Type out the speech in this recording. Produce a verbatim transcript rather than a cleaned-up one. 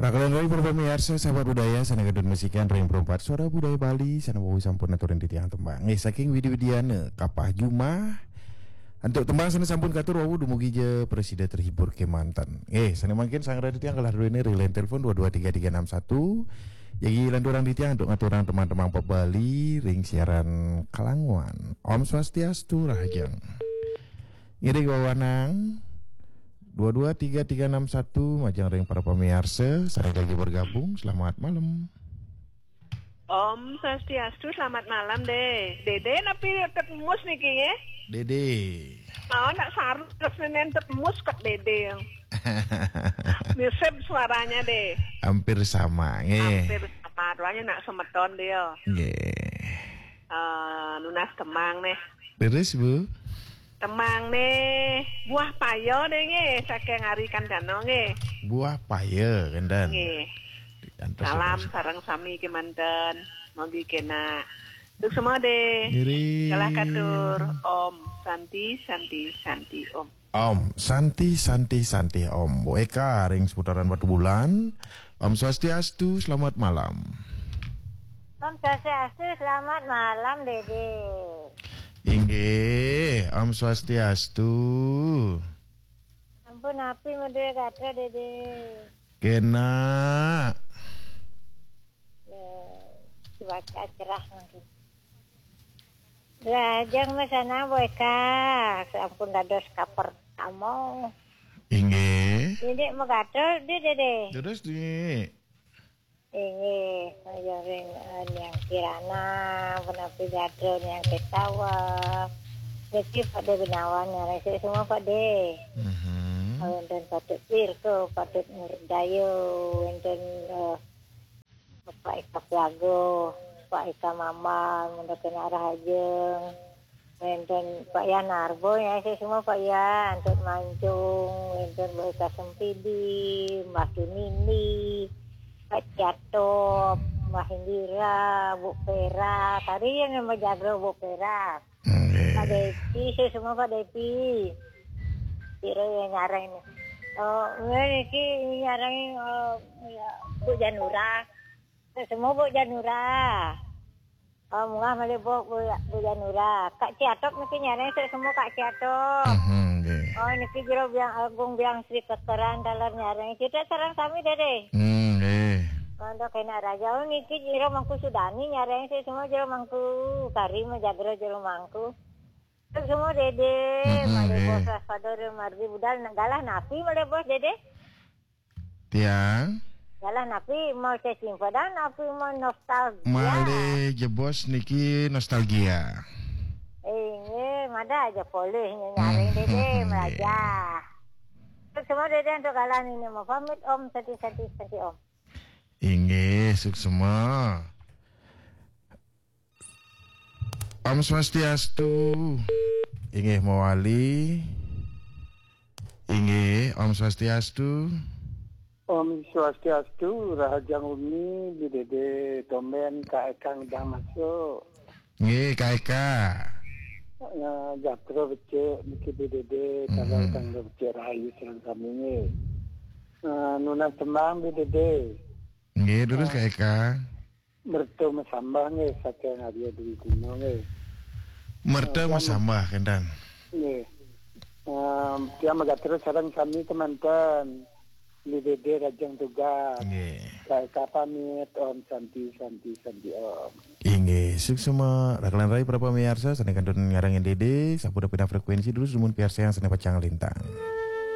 Rakalan rai para pamiarsa, sahabat budaya, sané kantun masikian ring Perempat Suara Budaya Bali, sané wau sampun aturin titiang tembang. Nggih, saking Widi Widiana, Kapah Jumah. Antuk tembang sané sampun katur wau dumugi ja prasida terhibur kémanten. Nggih, sané mangkin sareng titiang galah druéné ring line telepon dua dua tiga tiga enam satu. Jagi lanturang titiang antuk ngaturang tembang-tembang pop Bali ring siaran Kalanguan. Om Swastiastu, rahajeng. Ngiring wewanang dua dua tiga tiga enam satu, majeng ring para pamiarsa, sareng jagi bergabung, selamat malam. Om Swastiastu, selamat malam, Dé. Dédé, napi tetep mus niki, nggih? Dédé. Oh, nak saru terus nenen tetep mus kok Dédé. Mirip suaranya, Dé. Hampir sama, nggih. Hampir sama, ruanya nak semeton dia. Nggih. Eh, nunas temang nih. Terus, Bu? Temang nih, buah paya nih nggih, saking Ari Kandana nggih. Buah paya, kénten. Nggih. Antos salam terus. Sareng sami kémanten. Mogi kénak. Suksma, Dé. Ngiring. Galah katur. Om Santi, Santi, Santi, Om. Om Santi, Santi, Santi, Om. Bu Eka ring seputaran Batubulan. Om Swastiastu, selamat malam. Om Swastiastu, selamat malam, Dédé. Inggih, Om Swastiastu. Ampun, napi madué gatra, Dédé? Kénak. Ya, cuaca cerah mungkin. Lajeng mesana Bu Eka, sampun dados kapertama. Inggih. Ini magatel, Dédé. Terus, Dik. Inggih, ring, eh, Niang Kirana, punapi gatra Niang Ketawa. Niki Pak Dé Gunawan, ngarang semua Pak Dé. Mhm. Wénten Patut Wirko, Patut Murdaya, wénten, eh, Pak Eka Piago, Pak Eka Mambang, Munda Kena Rahajeng. Wénten Pak Yan Narbo, ya, saya semua Pak Yan, Tut Mancung, wénten Bu Eka Sempidi, Mbah Tunini, Pak Ciatop, Mbah Indira, Bu Pera, tadi yang nama jago Bu Pera. Nggih. Pak Depi, saya semua Pak Depi. Kira yang nyarang ini. Oh, ini niki nyarang, eh, ya, Bu Janura. Saya semua Bu Janura. Oh, mungah malih Bu, Bu, Bu Janura. Kak Ciatok niki nyarang, saya semua Kak Ciatok. Mhm, nggih. Oh, niki Jero Biang Agung, Biang Sri Kekeran, taler nyarang. Kita sareng sami, Dédé. Hmm, nggih. Pondok Kena Raja, oh, niki Jero Mangku Sudani nyarang, saya semua Jero Mangku. Kari mah jagra Jero Mangku. Terus semua Dédé, hmm, malih nggih. Bos Waspada, Mardi Budal, galah napi malih bos Dédé? Tiang? Galah napi mau saya simpedan, napi mau nostalgia? Malih jebos niki nostalgia. Inggih, mada aja polih nyaring, hmm, Dédé, hmm, melajah. Terus semua Dédé untuk galah ini mau pamit, Om, Santi, Santi, Santi, Om. Inggih, suksma. Om Swastiastu. Inggih mawali. Inggih, Om Swastiastu. Om Swastiastu, rahajeng wengi, Bi Dédé, tumben Kak Eka ngidang masuk. Nggih, Kak Eka. Ya, jatra becik niki Bi Dédé, hmm, tanggal, tanggal becik rahayu sareng sami nggih. Eh, nunas tembang Bi Dédé. Nggih, terus, eh, Kak Eka. Merta masambah nggih, saking Arya Dwi Guna nggih. Merta, eh, tiang masambah, kénten. Nggih. Em, tiang magatra sareng sami kémanten. Bi Dédé rahajeng tugas. Nggih. Kak Eka pamit, Om Santi, Santi, Santi, Om. Inggih, suksma. Rakalan rai para pamiarsa, sané kantun nyarengin Dédé, sampun pindah frekuensi terus, dumun piarsayang sané pacang lintang.